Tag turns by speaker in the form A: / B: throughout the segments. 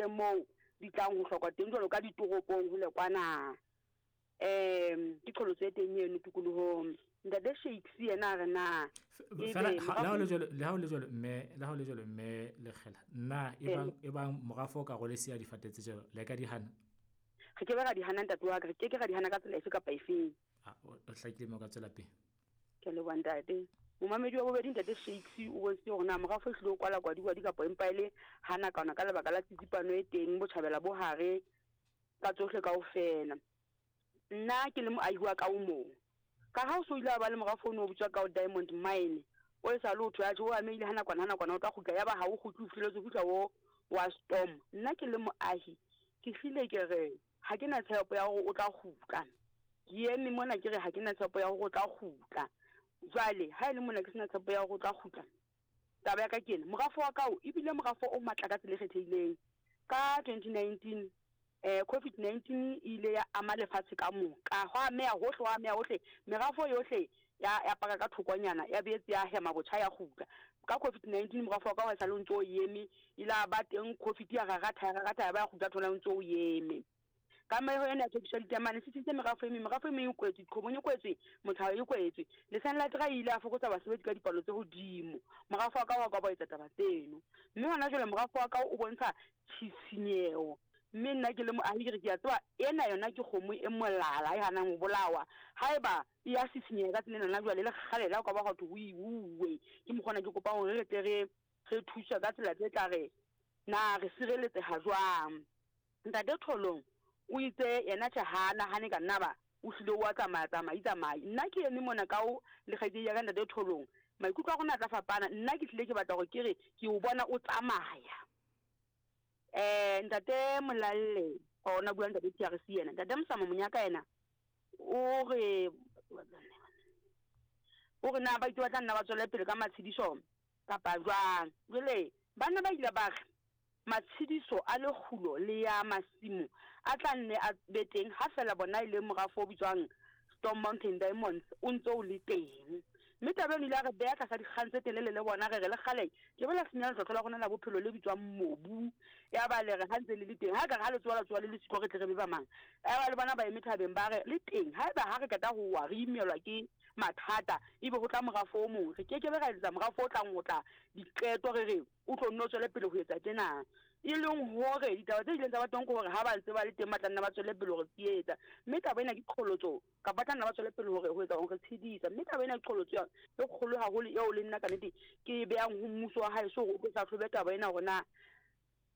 A: ise moo di tlang ho hlokwa teng jwalo ka ditoropong hole kwana. Um ke qholotso e teng eno tikolohong. Ntate Shakes yena a re na
B: Fela le ha o le jwalo, le ha o le jwalo mme, le ha o le jwalo mme Lekgela, na ebang ebang morafo o ka role siya difate tse jwalo, le ka di hana?
A: Re ke be ra di hana ntate wa ka, re ke ke ra di hana ka tsela efe kapa efeng.
B: A o hlakile mme o ka tswela pele.
A: Ke a leboha ntate. Momamedi wa bobedi ntate Shakes o bontshitse hore na morafo e hlile o kwala kwadikwadi kapa empa e le hana kana ka lebaka la tsitsipano e teng botjhabela bo hare ka tsohle kaofela. Nna ke le moahi wa ka o mong. Ka ha o so ile wa ba le morafo ono o bitswa Kao Diamond Mine, o e sa le o thwe atjhe o amehile ha nakwana ha nakwana o tla kgutla, yaba ha o kgutle o fihlelletse ho fihla o wa Storm. Nna ke le moahi ke hlile ke re ha ke na tshepo ya hore o tla kgutla. Ke eme mona ke re ha ke na tshepo ya hore o tla kgutla. Jwale ha e le mona ke sena tshepo ya hore o tla kgutla, taba ya ka ke ena, morafo wa Kao e bile morafo o matla ka tsela e kgethehileng. Ka 2019 COVID-19 e ile ya ama lefatshe ka moka, hwa ameha hohle, hwa ameha hohle, merafo yohle ya ya paka ka thokonyana, ya boetse ya hema botjha ya kgutla. Ka COVID-19 morafo wa ka wa esale o ntso o eme, ile a ba teng COVID ya raratha ya raratha ya ba ya kgutla thola o ntso o eme. Kameho ena ya thekiso ya ditamane e sisintse merafo e meng, merafo e meng e kwetswe, diqhobong e kwetswe, mothao e kwetswe. Lesang la Dra e ile ya fokotsa basebetsi ka dipalo tse hodimo. Morafo wa ka wa ka wa etsa taba tseno. Mme hona jwale morafo wa ka o bontsha tshisinyeho. Mme nna ke le moahi ke re ke a tseba ena yona ke kgomo e molala e hanang ho bolawa. Haeba e ya sisinyeha ka tsela ena na jwale le kgale le ha o ka ba hwa thwe ho iuwe. Ke mokgwa ona ke kopang hore re tle re re thuswe ka tsela tse tla re na re sireletseha jwang. Ntate Tholong o itse yena tjhe ha a nahane ka nna ba o hlile o a tsamaya tsamai tsamai. Nna ke eme mona ka o le kgaitsedi ya ka Ntate Tholong. Maikutlo a rona a tla fapana. Nna ke hlile ke batla hore ke re ke o bona o tsamaya. Eh, ntate Molalle, ona bua ntate TRC yena. Ntate Mosamo Monyaka yena o re o re na ba itse ba tla nna ba tswele pele ka matshediso kapa jwang. Jwale banna ba ile ba re matshediso a lekgulo le ya masimo a tla nne a be teng ha fela bona e le morafo o bitswang Storm Mountain Diamonds o ntse o le teng. Mme taba eno ile ya re beha tlasa dikgang tse telele le bona, re re le kgale ke be la senya letlotlo la rona la bophelo le bitswang mobu. Yaba le re ha ntse le le teng, ha ekare ha le tsoha la tsoha le le siko re tle re be ba mang. Yaba le bona ba eme thabeng ba re le teng, haeba ha re qeta ho wa re imelwa ke mathata ebe ho tla morafo o mong, re ke ke be ra etsetsa morafo o tlang ho tla diqeto re re o tlo nne o tswele pele ho etsa tjena. E leng hore ditaba tse ileng tsa ba teng ke hore ha ba ntse ba le teng ba tla nna ba tswele pele ho re tsietsa. Mme taba ena ke qholotso, kapa ba tla nna ba tswele pele hore ho etsa ho re tshedisa. Mme taba ena ke qholotso e kgolo haholo eo le nna ka nnete ke e behang ho mmuso wa haeso hore o tlo hlahlobe taba ena hore na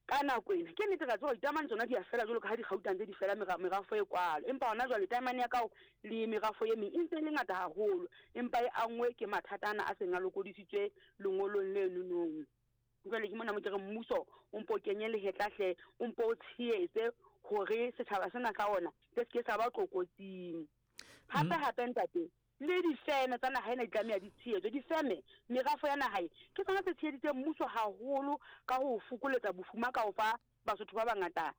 A: ka nako ena ke nnete re a tseba hore ditaemane tsona di a fela jwalo ka ha dikgauta ntse di fela merafo e kwalo. Empa hona jwale taemane ya kao le merafo e meng e ntse e le ngata haholo, empa e anngwe ke mathata ana a seng a lokodisitswe lengolong lenonong. Jwale ke mona mo ke re mmuso o mpo o kenye lehetla hle, o mpo o tshehetse hore setjhaba sena sa ona se se ke sa ba tlokotsing. Hape hape ntate, le difeme tsa naha ena di tlameha di tshehetswe. Difeme, merafo ya naha e, ke tsona tse tsheheditseng mmuso haholo ka ho fokoletsa bofuma ka ho fa Basotho ba bangata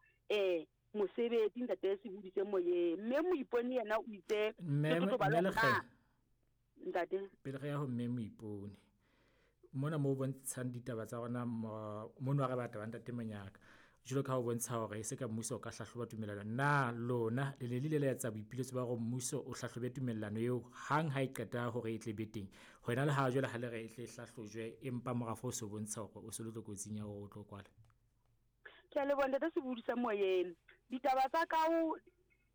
A: mosebetsi. Ntate se hodise moyeng. Mme Moipone yena o itse
B: Mme
A: ke totobalo
B: Mme
A: hore na
B: Lekgela.
A: Ntate.
B: Pele re ya ho Mme Moipone, mona mo bontshang ditaba tsa rona mono ha re batla ba ntate Monyaka. Jwalo ka ha o bontsha hore e se ka mmuso o ka hlahloba tumellano. Na lona le ne le ile la etsa boipiletso ba hore mmuso o hlahlobe tumellano eo hang ha e qeta hore e tle be teng? Hona le ha jwale ha le re e tle e hlahlojwe empa morafo o so bontsha hore o se le tlokotsing ya hore o tlo kwala.
A: Ke a leboha ntate Sebudi sa moyeng. Ditaba tsa kao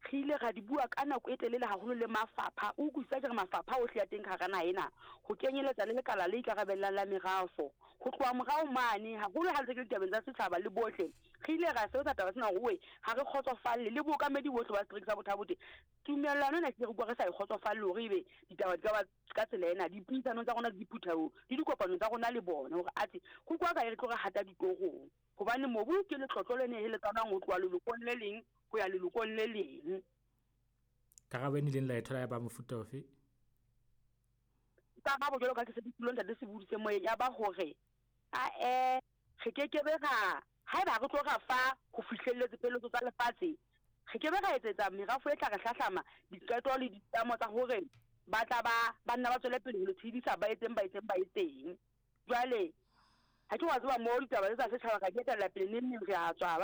A: re ile ra di bua ka nako e telele haholo le mafapha. O utlwisisa ke re mafapha ohle a teng ka hara naha ena, ho kenyeletsa le lekala le ikarabellang la merafo. Ho tloha morao mane, haholo ha ntse ke le ditabeng tsa setjhaba le bohle, re ile ra sebetsa taba tsena hore oe, ha re kgotsofalle le bookamedi bohle ba setereke sa Botha-Bothe. Tumellano ena ke re utlwa re sa e kgotsofalle hore ebe ditaba di ka ba ka tsela ena dipuisanong tsa rona le diphuthehong le dikopanong tsa rona le bona hore athe ho kwa kae re tlo re hata ditorong. Hobane mobu ke letlotlo le neheletsanwang ho tloha lelokong le leng ho ya lelokong le leng.
B: Karabo e nileng la e thola ya ba mofuta ofe?
A: Karabo jwalo ka ke se ke buile ntate Sebudi se moyeng ya ba hore ae re ke ke be ra haeba re tlo ra fa ho fihlelletse pheletso tsa lefatshe re ke be ra etsetsa merafo e tla re hlahlama diqeto le ditlamo tsa hore ba tla ba ba nna ba tswele pele ho le tshedisa ba etseng ba etseng ba etseng. Jwale ha ke wa tseba moo ditaba tse tsa setjhaba ra di etella pele neng neng re a tswa ba.